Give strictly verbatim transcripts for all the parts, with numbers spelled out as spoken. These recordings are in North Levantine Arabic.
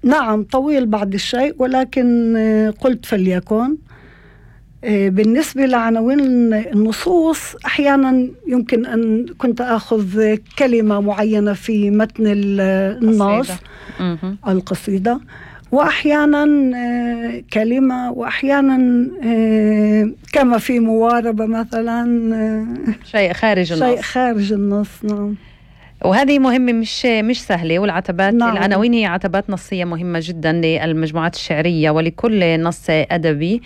نعم طويل بعض الشيء، ولكن قلت فليكن. بالنسبة لعناوين النصوص أحيانا يمكن أن كنت أخذ كلمة معينة في متن النص القصيدة، وأحيانا كلمة، وأحيانا كما في مواربة مثلا شيء خارج النص شيء خارج النص. نعم. وهذه مهمة مش مش سهلة. والعتبات نعم. العناوين هي عتبات نصية مهمة جدا للمجموعات الشعرية ولكل نص أدبي.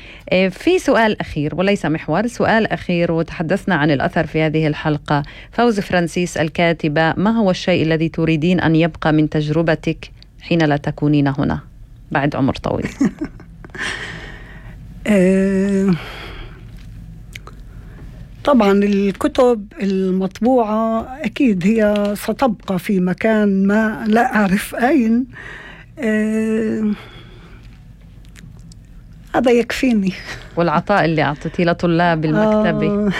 في سؤال أخير وليس محور، سؤال أخير، وتحدثنا عن الأثر في هذه الحلقة. فوز فرانسيس الكاتبة، ما هو الشيء الذي تريدين أن يبقى من تجربتك حين لا تكونين هنا بعد عمر طويل؟ طبعا الكتب المطبوعة أكيد هي ستبقى في مكان ما لا أعرف أين. أه هذا يكفيني. والعطاء اللي أعطيتيه لطلاب المكتبة؟ آه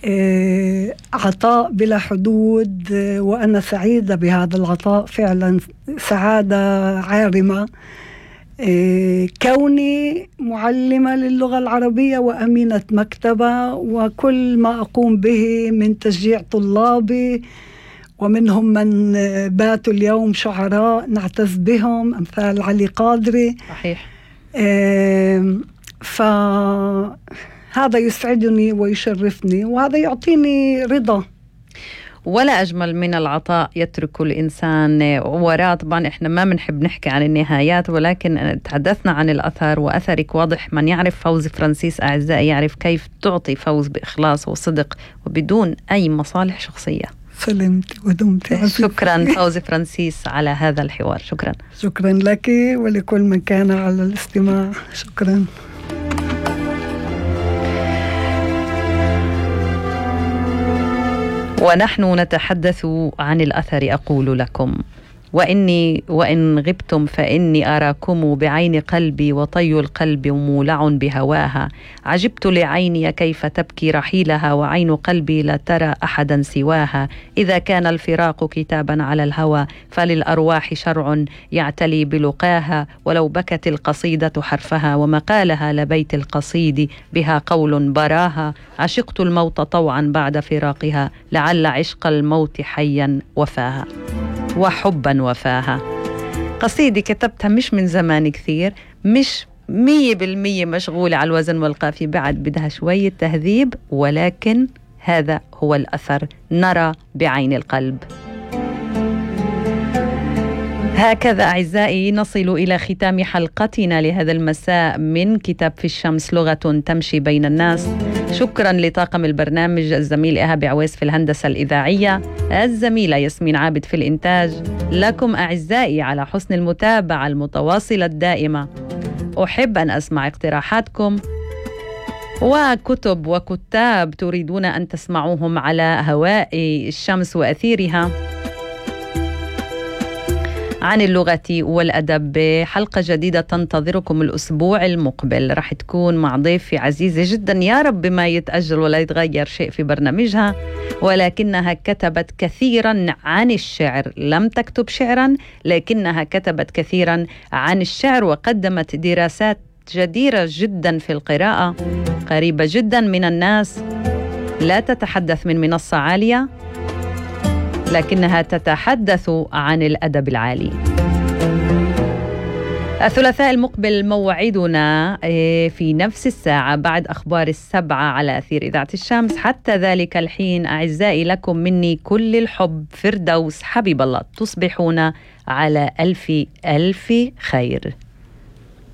أه عطاء بلا حدود، وأنا سعيدة بهذا العطاء فعلا، سعادة عارمة. كوني معلمة للغة العربية وأمينة مكتبة، وكل ما أقوم به من تشجيع طلابي، ومنهم من باتوا اليوم شعراء نعتز بهم أمثال علي قادري. صحيح. فهذا يسعدني ويشرفني، وهذا يعطيني رضا. ولا أجمل من العطاء يترك الإنسان وراء. طبعا إحنا ما بنحب نحكي عن النهايات، ولكن تحدثنا عن الأثر، وأثرك واضح. من يعرف فوز فرانسيس أعزائي يعرف كيف تعطي فوز بإخلاص وصدق وبدون أي مصالح شخصية. سلمت ودمت. شكرا فوز فرانسيس على هذا الحوار. شكرا. شكرا لك ولكل من كان على الاستماع. شكرا. ونحن نتحدث عن الأثر. أقول لكم وإني وإن غبتم فإني أراكم بعين قلبي، وطي القلب مولع بهواها. عجبت لعيني كيف تبكي رحيلها، وعين قلبي لا ترى أحدا سواها. إذا كان الفراق كتابا على الهوى، فللأرواح شرع يعتلي بلقاها. ولو بكت القصيدة حرفها، ومقالها لبيت القصيد بها قول براها. عشقت الموت طوعا بعد فراقها، لعل عشق الموت حيا وفاها وحبا وفاها. قصيدة كتبتها مش من زمان كثير، مش مية بالمية مشغولة على الوزن والقافية، بعد بدها شوية تهذيب، ولكن هذا هو الأثر. نرى بعين القلب. هكذا أعزائي نصل إلى ختام حلقتنا لهذا المساء من كتاب في الشمس، لغة تمشي بين الناس. شكرا لطاقم البرنامج، الزميل إيهاب عويس في الهندسة الإذاعية، الزميلة ياسمين عابد في الإنتاج. لكم أعزائي على حسن المتابعة المتواصلة الدائمة. أحب أن أسمع اقتراحاتكم وكتب وكتاب تريدون أن تسمعوهم على هواء الشمس وأثيرها عن اللغة والأدب. حلقة جديدة تنتظركم الأسبوع المقبل، رح تكون مع ضيفي عزيزة جدا، يا رب ما يتأجل ولا يتغير شيء في برنامجها، ولكنها كتبت كثيرا عن الشعر. لم تكتب شعرا، لكنها كتبت كثيرا عن الشعر، وقدمت دراسات جديرة جدا في القراءة، قريبة جدا من الناس. لا تتحدث من منصة عالية، لكنها تتحدث عن الأدب العالي. الثلاثاء المقبل موعدنا في نفس الساعة بعد أخبار السبعة على أثير إذاعة الشمس. حتى ذلك الحين أعزائي لكم مني كل الحب. فردوس حبيب الله. تصبحون على ألف ألف خير.